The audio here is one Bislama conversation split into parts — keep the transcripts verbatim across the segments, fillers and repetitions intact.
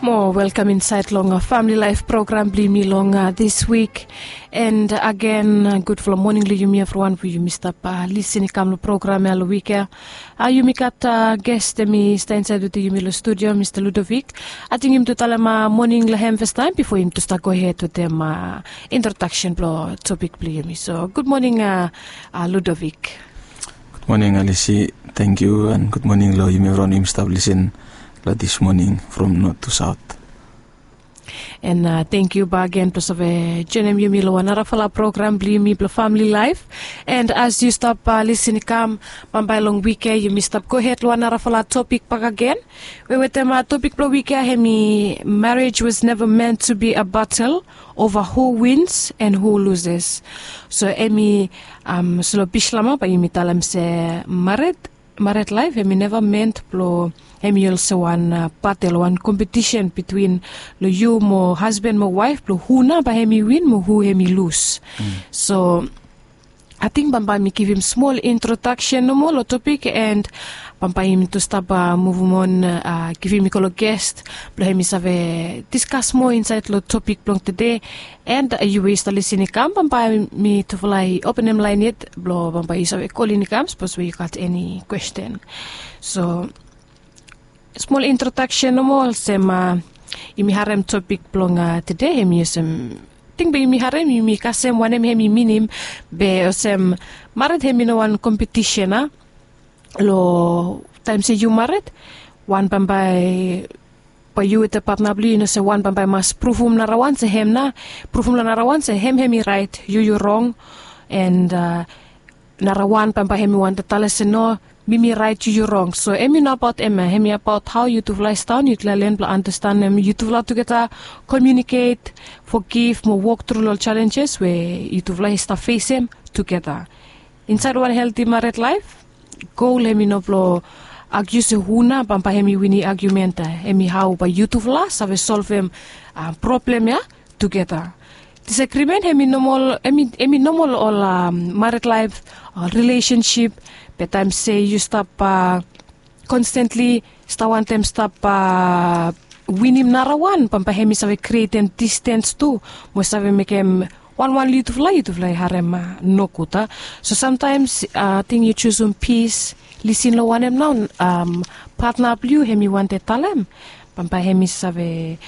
Mo welkam insaed long famili laef program blong yumi long dis wik. And agen, gudfala moning long yumi evriwan we yumi stap lisin i kam long program ya long wik ya. Yumi gat ges, hem i stap insaed wetem yumi long studio, Mista Ludovic. Ating yumi tu talem moning long hem fastaem bifo yumi tu stap gohed wetem introdaksen blong topik blong yumi. So gud moning, Ludovic. Gud moning, Alisi. Tangkiu, and gud moning long yumi evriwan we yumi stap lisin long dis moning from not tu saot. And tangkiu bak agen blong save joenem yumi long wan narafala program blong yumi blong famili laef. And as yu stap lisin i kam, bambae long wik ya yumi stap gohed long wan narafala topik bak agen. We wetem topik blong wik ya, hem i marriage was never meant to be a battle over who wins and who loses. So hem i, so long Bislama bae yumi talem se mared, mared laef hem i neva meant blong hem i olsem wan batel, wan kompetisen bitwin long yu mo hasban mo waef blong hu nao bae hem i win mo hu hem i lus. So ating bambae mi givim smol introdaksen nomo long topik, and bambae yumi tu stap muvum on, givim i go long ges blong hem i save diskas moa insaed long topik blong tede. And yu we yu stap lisin i kam, bambae mitufala i openem laen yet blong bambae yu save kolin i kam sapos we yu gat eni kwesten. So smol introdaksen nomo olsem, yumi harem topik blong tede, hem i olsem, ting be yumi harem yumi kasem wanem hem i minim. Be olsem, mared hem i no wan kompetisen a long taem se yu mared, wan bambae bae yu wetem patna blong yu i no se wan bambae i mas pruvum narawan se hem nao, pruvum long narawan se hem hem i raet, yu yu rong. And narawan bambae hem i wantem talem se no, mi mi raet, yu yu rong. So hem i no abaot hem ya, hem i abaot hao yutufala i stap, yutufala i len blong andastanem yutufala tugeta, komiuniket, fogiv mo wok tru long ol jalenjes we yutufala i stap fesem tugeta. Insaed wan helti mared laef, gol hem i no blong agiu se hu nao bambae hem i win agiumen ya. Hem i hao bae yutufala save solvem problem ya tugeta. Disagrimen hem i nomol, hem i nomol long ol mared laef, rilesensip. Be taem se yu stap konstentli stap wantem stap winim narawan, bambae hem i save krietem distens tu mo save mekem wanwan long yutufala, yutufala i harem nogud a. So samtaems ating yu jusum pis, lisin long wanem nao patna blong yu hem i wantem talem, bambae hem i save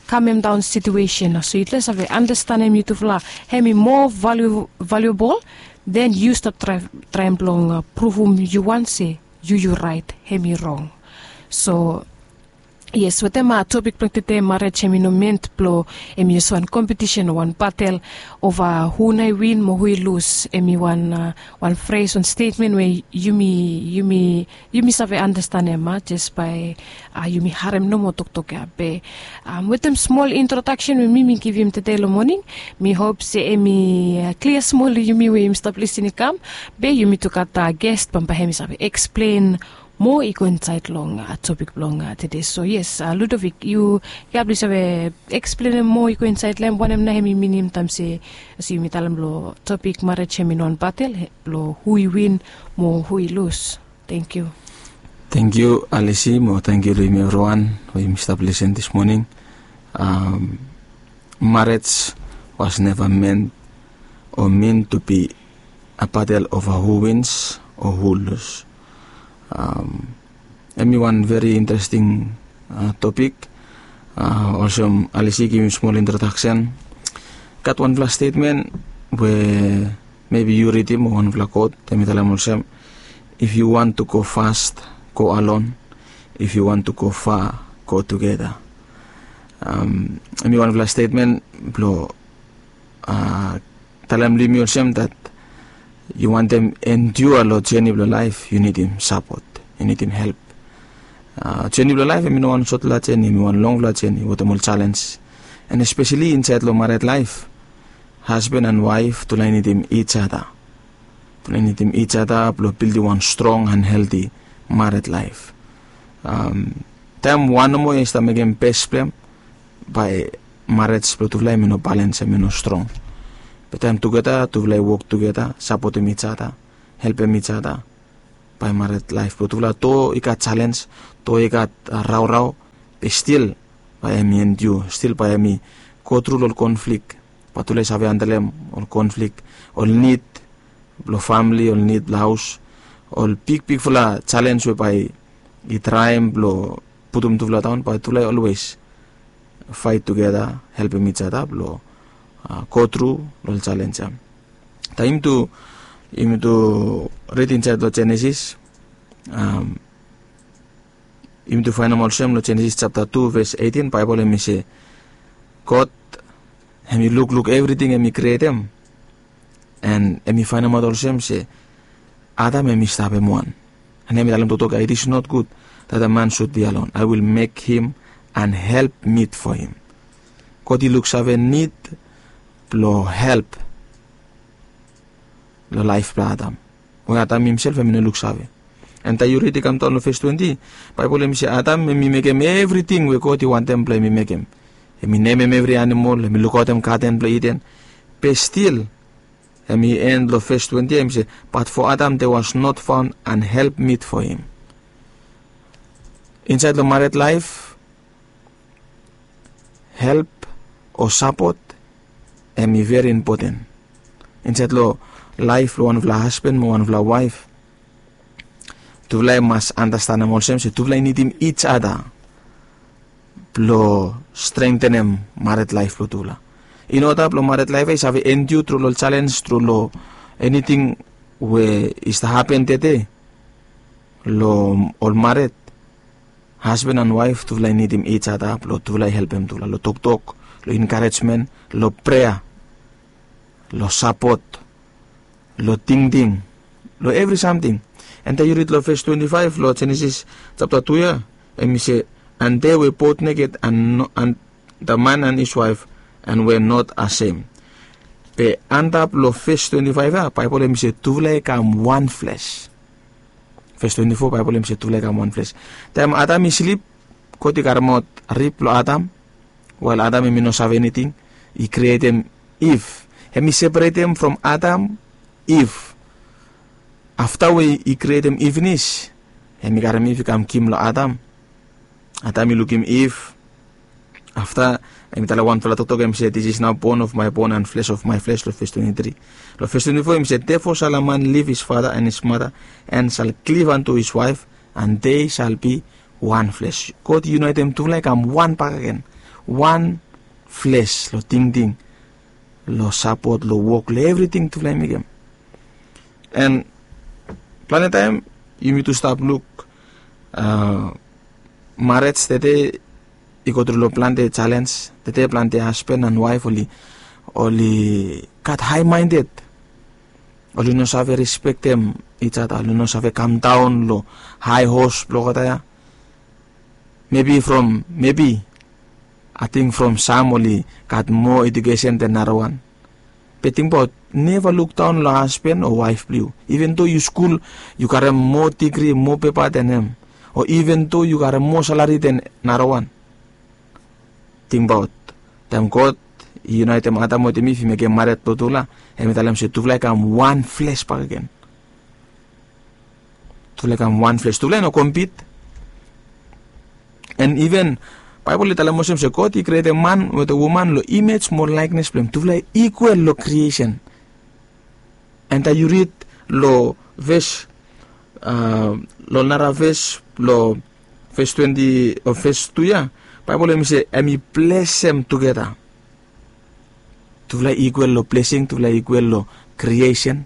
kamemdaon situesen. So yutufala i save andastanem yutufala, hem i moa valiuabol. Den yu stap traem blong pruvum yu wan se yu yu raet, hem i rong. So yes, wetem topik blong tede, mared hem i no ment blong hem i olsem wan kompetisen o wan batel ova hu nao i win mo hu i lus. Hem i wan, wan fres, wan stetmen we yumi, yumi yumi save andastanem a jes bae yumi harem nomo toktok ya. Be wetem smol introdaksen we mi mi givim tede long moning, mi hop se hem i klia smol long yumi we yumi stap lisin i kam. Be yumi tu gat ges, bambae hem i save eksplen moa i go insaed long topik blong tede. So yes, Ludovic, yu, yu blong save eksplenem moa i go insaed long hem wanem nao hem i minim taem se, olsem yumi talem long topik, mared hem i no wan batel blong hu i win mo hu i lus. Tangkiu. Tangkiu, Alisi, mo tangkiu long yumi evriwan we yumi stap lisin dis moning. Mared was neva ment o min tu bi a batel ova hu wins o hu lus. Hem i wan veri interesting topik. Olsem Alisi i givim smol introdaksen, gat wanfala stetmen we mebi yu ridim, o wanfala kot, hem i talem olsem, if you want to go fast, go alone. If you want to go far, go together. Hem i wanfala stetmen blong talem long yumi olsem dat yu wantem endua long jeni blong laef, yu nidim sapot, yu nidim help. Jeni blong laef hem i no wan sotfala jeni, hem i wan longfala jeni wetem ol jalens. And espeseli insaed long mared laef, hasban and waef tufala i nidim ijada. Tufala i nidim ijada blong bildim wan strong and helti mared laef. Taem wan nomo i stap mekem bes blong hem, bae mared blong tufala hem i no balens, hem i no strong. Be taem tugeta tufala i wok tugeta, sapotem ijada, helpem ijada, bae mared laef blong tufala, do i gat jalens, do i gat raorao, be stil bae hemi endiu, stil bae hemi go tru long ol konflik. Bae tufala i save handlem ol konflik, ol nid blong famili, ol nid blong haos, ol bigbigfala jalenj we bae i traem blong putum tufala daon, bae tufala i olwes faet tugeta, helpem ijata blong go tru long ol jalenj ya. Taem yumi tu, yumi tu rid insaed long Jenesis, yumi tu faenem olsem long Jenesis japta tu ves eighteen, Baebol hemi se, God hemi lukluk evriting hemi krietem, and hemi faenemaot olsem se Adam hemi stap hem wan. And hemi talem toktok ya, "It is not good that a man should be alone. I will make him an helpmeet for him." God i luksave nid blong help long laef blong Adam, we Adam himsel hemi no luksave. And taem yu rid i kamdaon long ves twenti, Baebol hemi se Adam hemi mekem evriting we God i wantem blong hemi mekem. Hemi nemem evri animol, hemi lukaotem gaden blong Iden. Be stil, hemi en long ves twenti ya, hemi se, "But for Adam there was not found an helpmeet for him." Insaed long mared laef, help o sapot hemi veri impoten. Insaed long laef blong wanfala hasban mo wanfala waef, tufala i mas andastanem olsem se tufala i nidim ijata blong strengtenem mared laef blong tufala. In oda blong mared laef ya i save endiu tru long jalenj, tru long eniting we i stap hapen tede long ol mared, hasban and waef tufala i nidim ijata blong tufala i helpem tufala long toktok, long enkarejmen, long prea, long sapot, long tingting, long evri samting. And taem yu rid long ves twenti faef long Jenesis japta tu ya, hemi se, "And they were both naked and, no, and the man and his wife, and were not ashamed." Be antap long ves twenti faef ya, Baebol hemi se tufala i kam wan fles. Ves twenti fo, Baebol hemi se tufala i kam wan fles. Taem Adam i slip, God i karemaot rib blong Adam, wael Adam hemi no save eniting, i krietem Iv. Hemi separetem from Adam, Iv. Afta we i krietem Iv finis, hemi karem Iv i kam givim long Adam. Adam i lukim Iv. Afta hemi talem wanfala toktok, hemi se, "This is now bone of my bone and flesh of my flesh," long ves twenti tri. Long ves twenti fo hemi se, "Therefore shall a man leave his father and his mother, and shall cleave unto his wife, and they shall be one flesh." God i yunaetem tufala i kam wan bakegen. Wan fles long tingting, long sapot, long wok, long evriting tufala i mekem. And plante taem yumi tu stap luk, a, marej tede i go tru long plante jalenj. Tede plante hasban and waef oli, oli gat high minded. Oli no save respektem ijata, oli no save kamdaon long hae hos blong olgeta ya. Mebi from, mebi, ating from sam oli gat moa ejukesen den narawan. Be tingbaot, neva lukdaon long hasban o waef blong yu. Iven do yu skul, yu karem moa digri, moa pepa den hem, o iven do yu karem moa salari den narawan. Tingbaot, taem God i yunaetem Adam wetem Iv, i mekem mared blong tufala, hemi talem se tufala i kam wan fles bakegen. Tufala i kam wan fles, tufala i no compete. And iven Baebol i talem olsem se God i krietem man wetem woman long imej mo laeknes blong hem. Tufala i ikwal long kriesen. And taem yu rid long ves, a, long nara ves, long ves twenti o ves tu ya, Baebol hemi se hemi blesem tugeta. Tufala i ikwal long blesing, tufala i ikwal long kriesen,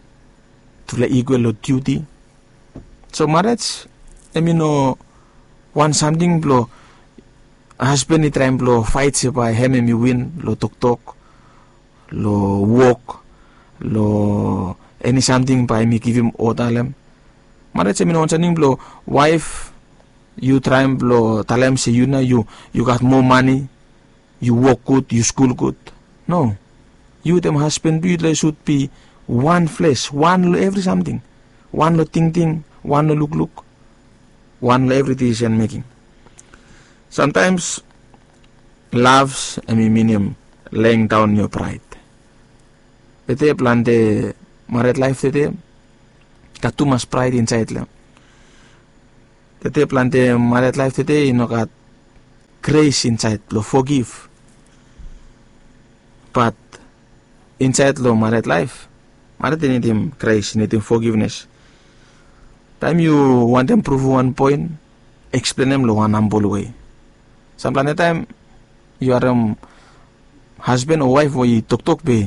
tufala i ikwal long diuti. So marej hemi no wan samting blong hasban i traem blong faet se bae hem hemi win long toktok, long wok, long eni samting bae hemi givim oda long hem. Marej hemi no wan samting blong waef yu traem blong talem se yu nao yu, yu gat moa mane, yu wok gud, yu skul gud. No. Yu wetem hasban blong yu, yutufala i sud bi wan fles, wan long evri samting. Wan long tingting, wan long lukluk, wan long evri decision making. Sometimes love hemi minim laying down your pride. Tede plante mared laef tede gat tumas praed insaed long hem. Tede plante mared laef tede i no gat gres insaed blong fogiv. Bat insaed long mared laef, mared i nidim gres, i nidim fogivnes. Taem yu wantem pruvum wan poen, eksplenem long wan hambol wei. Samplante taem yu harem hasban o waef we i toktok be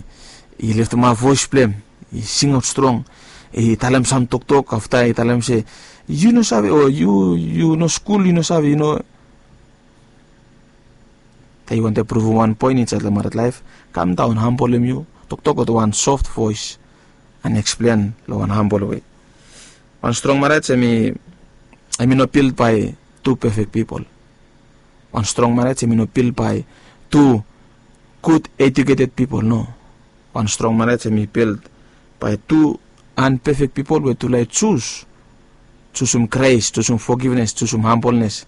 i leftemap voes blong hem, i singaot strong, i talem sam toktok, afta i talem se, yu no save, o yu yu no skul, yu no save, yu no. Taem yu wantem pruvum wan poen insaed long mared laef, kamdaon, hambolem yu, toktok wetem wan soft voes, an eksplen long wan hambol wei. Wan strong mared hemi, hemi no bild bae tu pefek pipol. Wan strong mared hemi no bild bae tu gud ejuketed pipol, no. Wan strong mared hemi bild bae tu anpefek pipol we tufala i jus, jusum gres, jusum fogivnes, jusum hambolnes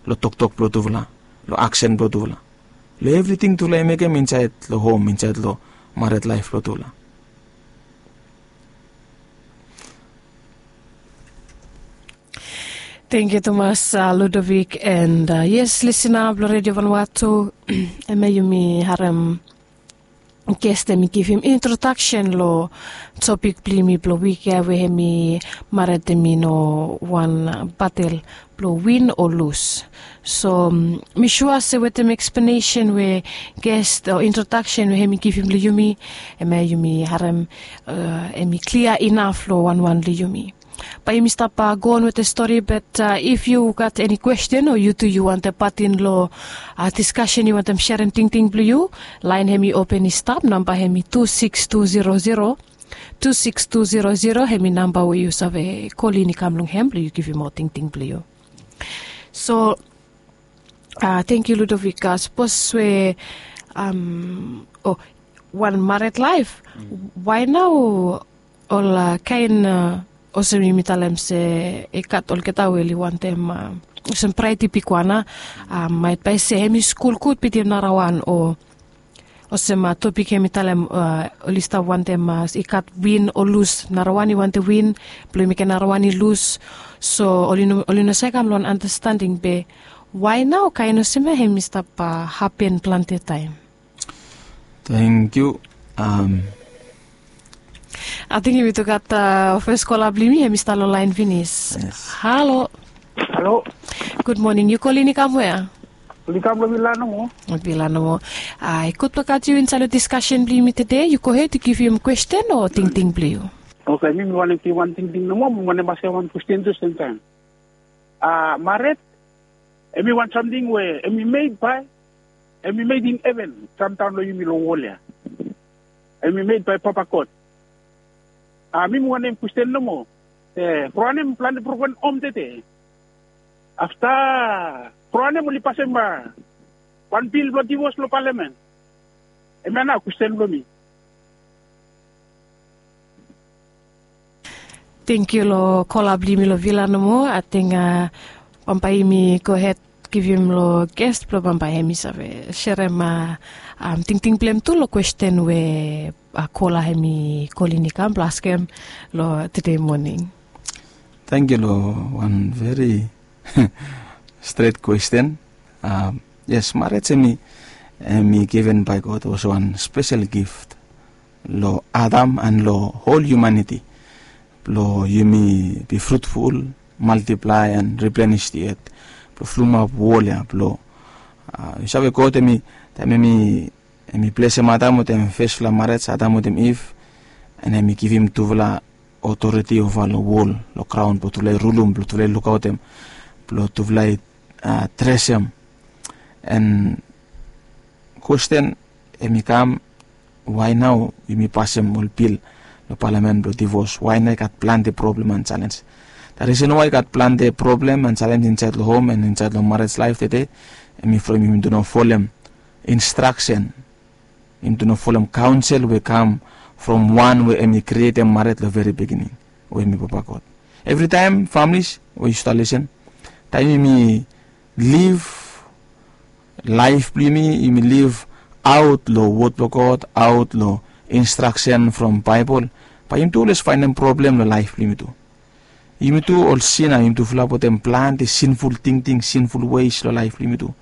long toktok blong tufala, long aksen blong tufala, long evriting tufala i mekem insaed long hom, insaed long mared laef blong tufala. Tangkiu tumas, Ludovik, and yes, lisina blong Redio Vanuatu, hemia yumi harem ges hemi givim introdaksen long topik blong yumi blong wik ya, we hemi mared hemi no wan batel blong win o lus. So mi sua se wetem eksplenesen we ges o introdaksen we hemi givim long yumi, hemia yumi harem hemi klia inaf long wanwan long yumi. Bae yumi stap goon wetem stori, bat if yu gat eni kwesten o yu tu yu wantem patin long diskasen, yu wantem serem tingting blong yu, laen hemi open i stap, namba hemi tu sikis tu zero zero, tu sikis tu zero zero, hemi namba we yu save kolin i kam long hem blong yu givim ol tingting blong yu. So tangkiu Ludovik, sapos we, o, wan mared laef, wae nao ol kaen, olsem yumi talem se i gat olgeta we oli wantem, olsem braet i bigwan, maet bae se hemi skul gud bitim narawan, o olsem topik hemi talem, oli stap wantem, i gat win o lus, narawan i wantem win blong i mekem narawan i lus. So oli no, oli no save kam long wan andastending, be wae nao kaen olsem ya hemi stap hapen plante taem? Tangkiu. Ating yumi tu gat fes kola blong yumi, hemi stap long laen finis. Halo. Halo. Gud moning, yu kolin i kam wea? Kolin i kam long vila nomo. Vila nomo. Ae gud blong gat yu insaed long diskasen blong yumi tede. Yu gohed, yu givim kwesten o tingting blong yu. Oke, mi mi wantem givim wan tingting nomo, mi wantem askem wan kwesten tu semtaem. Mared hemi wan samting we hemi med bae, hemi med in heven, samtaem long yumi long wol ya. Hemi med bae Papa God. Mi mi wantem kwesten nomo, from wanem plante broken hom tede? Afta from wanem oli pasem wan bil blong divos long palamen? Hemia nao kwesten blong mi. Tangkiu long kola blong yumi long vila nomo. Ating bambae yumi gohed givim long ges blong bambae hemi save serem tingting blong hem tu long kwesten we kola hemi kolin i kam blong askem long tede moning. Tangkiu long wan veri stret kwesten. Yes, mared hemi, hemi given bae God olsem wan spesel gift long Adam an long hol hiumaniti, blong yumi be frutful, maltiplae an riplenis di et, blong fulumap wol ya, blong, yu save, God hemi, taem hemi, hemi blesem Adam wetem fesfala mared, Adam wetem Iv, an hemi givim tufala otoriti ova long wol, long graon, blong tufala i rulum, blong tufala i lukaotem, blong tufala i dresem. An kwesten hemi kam, wae nao yumi pasem ol bil long palamen blong divos? Wae nao i gat plante problem an jalenj? The reason why i gat plante problem an jalenj insaed long hom an insaed long mared laef tede, hemi from yumi tu no folem instraksen, yumi tu no folem kaonsel we kam from wan we hemi krietem mared long veri begining, we hemi Papa God. Evritaem, familis we yu stap lisen, taem yumi liv laef blong yumi, yumi liv aot long wod blong God, aot long instraksen from Baebol, bae yumi tu olwes faenem problem long laef blong yumi tu. Yumi tu ol sina, yumi tu fulap wetem plante sinful tingting, sinful weis long laef blong yumi tu.